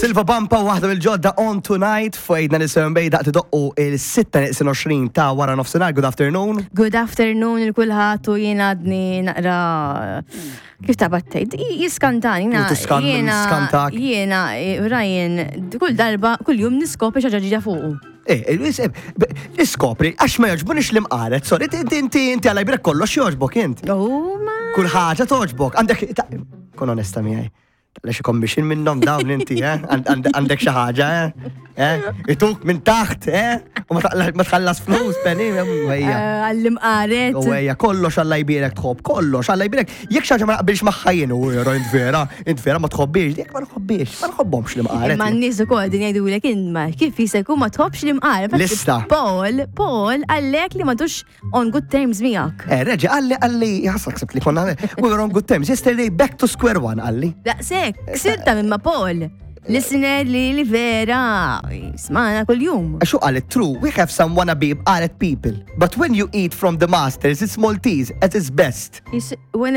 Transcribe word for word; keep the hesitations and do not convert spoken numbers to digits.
Silva Bampa, waħda mill-ġodda On Tonight, fuq ninety-seven daqt idoqqu il-sitta neqsin għoxrin ta' wara nofsinhar. Good afternoon. Good afternoon lil kulħadd u jien għadni naqra, kif ta' battejt, jiskantani. U tiskan- Jiena skantak. Jiena, eh, Ryan, kull darba, kull jum niskopri xi ħaġa ġdida fuqu. Eh, eh, iskopri, għax ma jogħġbunix l-imqaret, sorry, inti inti inti għala jbrek kollox jogħġbok int. Oh, ma. Kull ħaġa togħġbok. Għandek, ta- kun onesta miegħi. Taqla xi commission minnhom dawn inti, eh? Għand- għand- Għandek xi ħaġa, eh? Eh? Ituk minn taħt, eh? U ma taqla- ma tħallas flus, penny, ejja. Eh, Għall-imqaret. U ejja, kollox Alla jbierek tħobb, kollox Alla jbierek. Jekk xi ħaġa ma naqbilx magħha jien, u jero int vera, int vera ma tħobbix, jekk ma nħobbix, ma nħobbhomx l-imqaret. Imma n-nies ukoll din jgħidulek imma kif jista' jkun ma tħobbx l-imqaret. Lista. Paul, Paul għallek li m'għadux on good terms miegħek. Eh, reġa, qalli, qalli, jasak sibt li konna, we were on good terms. Yesterday, back to square one, qalli. Daqsek, ksirta minn ma' Paul. Listener li li vera smana kull-jum. Għaxu għalli, true, we have some wannabe imqaret people. But when you eat from the masters, it's Maltese at its best. When